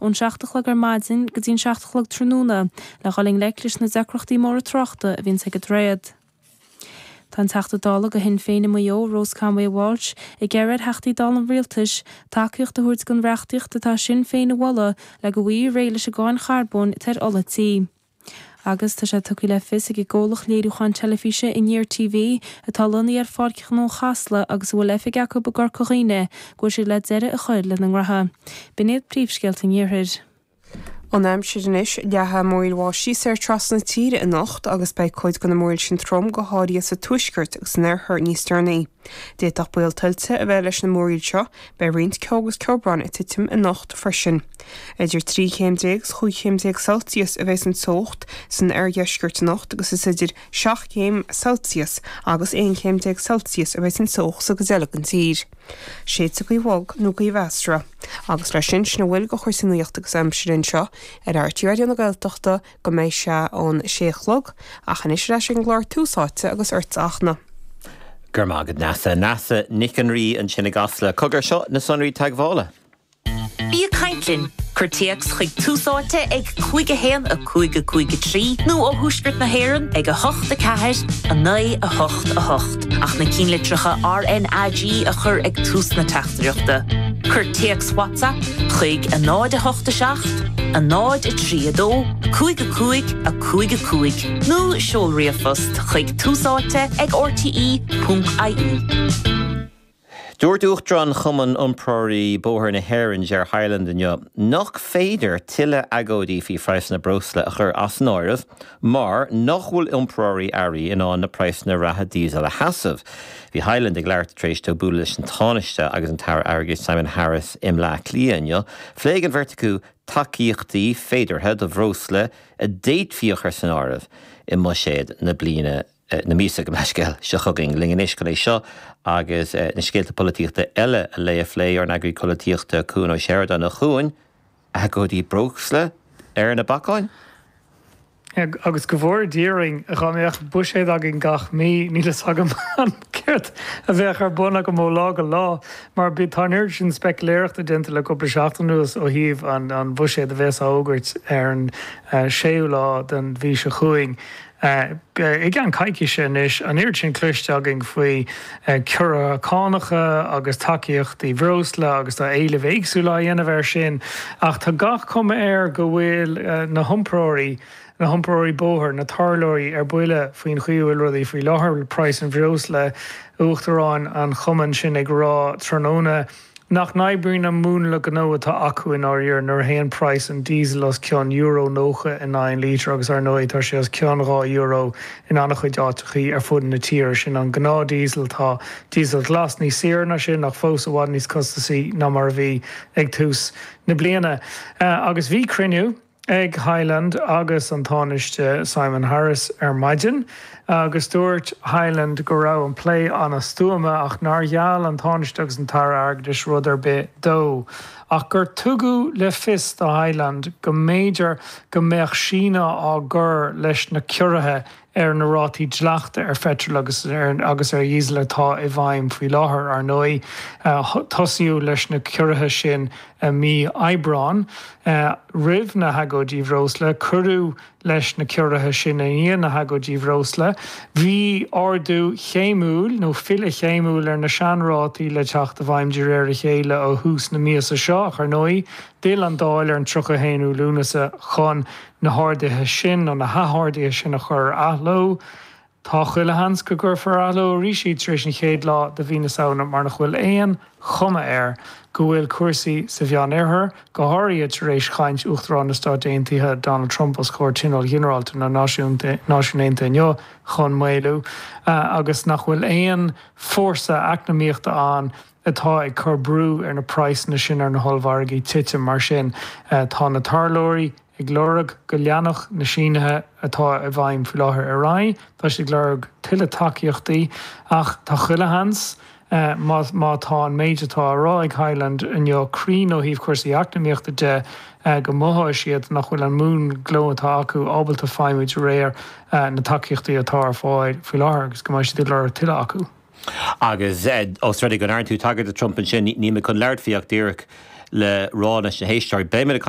ón 7 a chlog ar maidin go dtí an 7 a chlog tráthnóna le dhul i ngleic leis na deacrachtaí móra tráchta a bhíonns ag an droichead. Tá an Teachta Dála do Shinn Féin i Maigh Eo, Rose Conway Walsh, ag iarraidh ar Theachtaí Dála an Rialtais tacaíocht a thabhairt don reachtaíocht atá Sinn Féin a mholadh le go bhfaighfí réidh leis an gcáin charbóin atá ar ola tí. Agus tá sé tugtha le fios ag an gcomhlacht léiriúcháin teilifíse Aniar TV, atá lonnaithe ar Pháirc Ghnó Chasla agus a bhfuil oifig acu i gCorca Dhuibhne, go bhfuil siad le deireadh a chur lena ngnótha. B'in iad príomhscéalta an Iarthair. An aimsir anois, leathfaidh múraíl bháistí soir trasna na tíre anocht agus beidh cuid de na múraíl sin trom, go háirithe sa tuaisceart agus san oirthear níos deireanaí. D'fhéadfadh baol tuilte a bheith leis na múraíl seo. Beidh roinnt ceo agus ceobhráin ag titim anocht freisin. Idir 13 chéim is 15 chéim Celsius a bheidh an teocht san oirdheisceart anocht agus is idir 7 chéim Celsius agus 11 chéim Celsius a bheidh an teocht sa gcuid eile den tír. Séidfidh gaoth bhog nó gaoth mheasartha. Agus leis sin, sin a bhfuil de chúrsaí nuachta agus aimsire anseo ar RTÉ Raidió na Gaeltachta go mbeidh sé an sé a chlog, ach anois ar ais ag an gclár Tús Áite agus ortsa a Fhachtna. Go raibh maith agat Neasa. Neasa Nic an Rí ansin i gCasla. Cogar, seo na sonraí teagmhála. Bí ag caint linn! Cuir téacs chuig Tús Áite ag 5 1 5 5 3 nó ó Thuaisceart na hÉireann ag 8 4 9 8 8 ach na cinnlitreacha RnaG a chur ag tús na teachtaireachta. Cuir téacs WhatsApp chuig 0 8 7 0 3 2 5 5 5 5 nó seol ríomhphost chuig túsáite ag rte.ie. Dúirt Uachtarán Chumann Iompróirí Bóthair na hÉireann, Ger Hyland inniu nach féidir tuilleadh agóidí faoi phraghsanna breosla a chur as an áireamh mar nach bhfuil iompróirí earraí in ann na praghsanna reatha díosail a sheasamh. Bhí Hyland ag labhairt tar éis dó bualadh leis an Tánaiste agus an tAire Airgeadais Simon Harris i mBleá Cliath inniu. Phléigh an bheirt acu tacaíochtaí féideartha do bhreosla a d'fhéadfaí a chur san áireamh i mbuiséad na bliana na míosa, gabh mo leithscéal, seo chugainn. Linn anois chun é seo agus na scéalta polaitíochta eile a léamh a phlé, ár n-eagraí polaitíochta Cuan Ó Seireadáin. A Chuain, agóidí breosla ar na bacáin? Agus go bhfóire Dia orainn, dhá mbeadh buiséad againn gach mí, níl fhios agam céard a bheadh ar bun agam ó lá go lá, mar tá an oiread sin speiciléireachta déanta le cúpla seachtain anuas ó thaobh an bhuiséid a bheas á fhógairt ar an séú lá den mhí seo chugainn. I gceann coicíse anois, an oiread sin cloiste againn faoi ciorruithe cánacha agus tacaíochtaí breosla agus tá éilimh éagsúla á dhéanamh air sin ach tá gach cuma air go bhfuil na hiompróirí, na hiompróirí bóthair, na tarlóirí ar buile faoin chaoi a bhfuil rudaí faoi láthair le praghas an bhreosla, Uachtarán an chumainn sin ag rá tráthnóna. Nach n-oibríonn an múnla gnó atá acu i ndáiríre nuair a théann praghas an diesel os cionn euro 90 in aghaidh an lítir agus ar ndóigh tá sé os cionn €2 in an-chuid áiteachaí ar fud na tíre. Sin an gnáth diesel, tá diesel glas níos saoire ná sin ach fós i bhfad níos costasaí ná mar a bhí ag tús na bliana. Agus bhí cruinniú. ag Hyland agus an Tánaiste Simon Harris ar maidin agus dúirt Hyland go raibh an plé an-stuama ach nár gheall an Tánaiste agus an tAire Airgeadais rud ar bith dó ach gur tugadh le fios do Hyland go mb'fhéidir go mbeadh síneadh á gcur leis na ciorruithe ar na rátaí dleachta ar pheitreal agus agus ar dhíosal atá i bhfeidhm faoi láthair. Ar ndóigh, tosaíodh leis na ciorruithe sin i mí Aibreáin, roimh na hagóidí bhreosla. Cuireadh leis na ciorruithe sin i ndiaidh na hagóidí bhreosla. Bhí ardú chéimiúil, nó filleadh chéimiúil ar na seanrátaí le teacht i bhfeidhm de réir a chéile ó thús na míosa seo ach ar ndóigh, d'fhill an Dáil ar an 31 Lúnasa chun na harduithe sin, nó na hatharduithe sin a chur ar athló. Tá chuile sheans go gcuirfear ar athló arís iad tar éis an chéad lá de mhí na Samhna mar nach bhfuil aon chuma air go bhfuil cúrsaí sa Mheánoirthear, go háirithe tar éis chaint Uachtarán na Stát Aontaithe Donald Trump os comhair Tionól Ghinearálta na Náisiún Aontaithe inniu, chun maolú agus nach bhfuil aon fórsa eacnamaíochta ann atá ag cur brú ar na praghsanna sin ar na hollmhargaí titim. Mar sin, tá na tarlóirí ag lorg go leanfadh na sínithe atá i bhfeidhm faoi láthair ar aghaidh. Tá siad ag lorg tuilleadh tacaíochtaí ach tá chuile sheans, má tá an méid atá á rá ag Hyland inniu cruinn ó thaobh cúrsaí eacnamaíochta de, go mothóidh siad nach bhfuil an múnla gnó atá acu ábalta feidhmiú de réir na tacaíochtaí atá ar fáil faoi láthair agus go mbeidh siad ag lorg tuilleadh acu. Agus os rud é go ndearna tú tagairt do Trump ansin, níl mé chun labhairt faoi ach díreach le rá leis na héisteoirí, beidh muid ag.